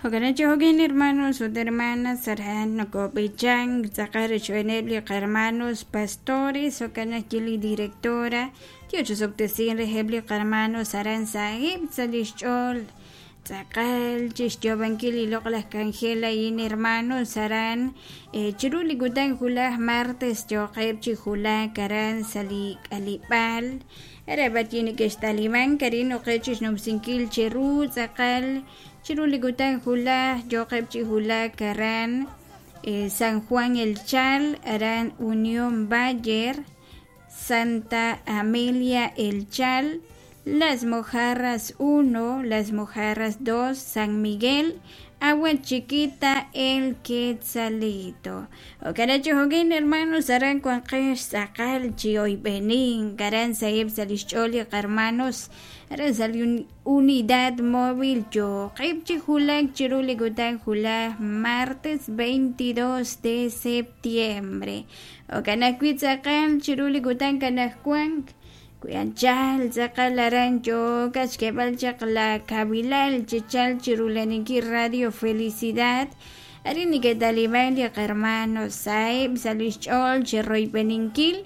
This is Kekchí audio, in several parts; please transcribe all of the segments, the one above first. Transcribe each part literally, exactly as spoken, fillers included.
Jo'kan chi hermanos ut hermanas aran nokob'ichan tz'aqal rochb'eeneb' li hermanos pastores jo'kan ajwi' li directora Dios chisob'tesin reheb' li hermanos aran saheb' sa' lix ch'ool tz'aqal chixyoob'ankil li loq'laj k'anjel a'in hermanos aran chiru li kutan wulaj martes yooqeb' chi wulak aran sa' li k'aleb'aal ara b'arwi' neke'xtalimank arin noqe' chixnumsinkil chiru tz'aqal chiru li kutan wulaj yooqeb' chi wulak aran San Juan El Chal aran Unión Bayer Santa Amelia El Chal Las Mojarras uno, Las Mojarras dos, San Miguel, Agua Chiquita, El Quetzalito. Jo'kan chi jo'kan hermanos aran wanqex tz'aqal chi oyb'enin aran saheb' sa' lix ch'ool li hermanos aran sa' li unidad móvil yooqeb' chi wulak chiru li kutan wulaj martes veintidós de septiembre. Jo'kan ajwi' tz'aqal chiru li kutan kanajwan wi anchal tz'aqal aran yookat xk'eeb'al chaq la kabilal chichal chirulaninkil Radio Felicidad arin neke'taliman li hermanos saheb' sa' lix ch'ool chiroyb'eninkil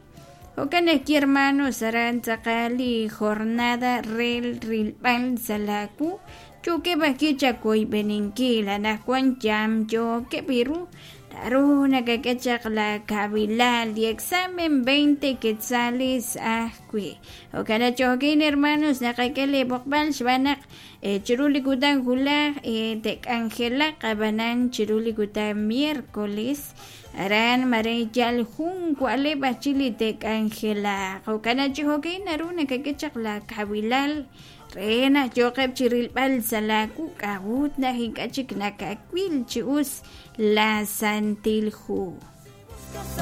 jo'kan ajwi' hermanos aran tz'aqal li jornada re rilb'al sa' la wu yookeb' ajwi' chawoyb'eninkil anaqwan yamyookeb' iru naru nakak'e chaq la kabilal li examen veinte quetzales ajwi' jo'kan chi jo'kan hermanos naqak'e li b'oqb'al xb'aan naq chiru li kutan wulaj te'k'anjelaq ab'anan chiru li kutan miércoles aran mare yal jun wa'leb' ajchi li te'k'anjelaq jo'kan chi jo'kan naru nakak'e chaq la kabilal re naq yooqeb' chi rilb'al sa' la wu k'a'ut naq ink'a' chik nakawil chi us la Santil Hu.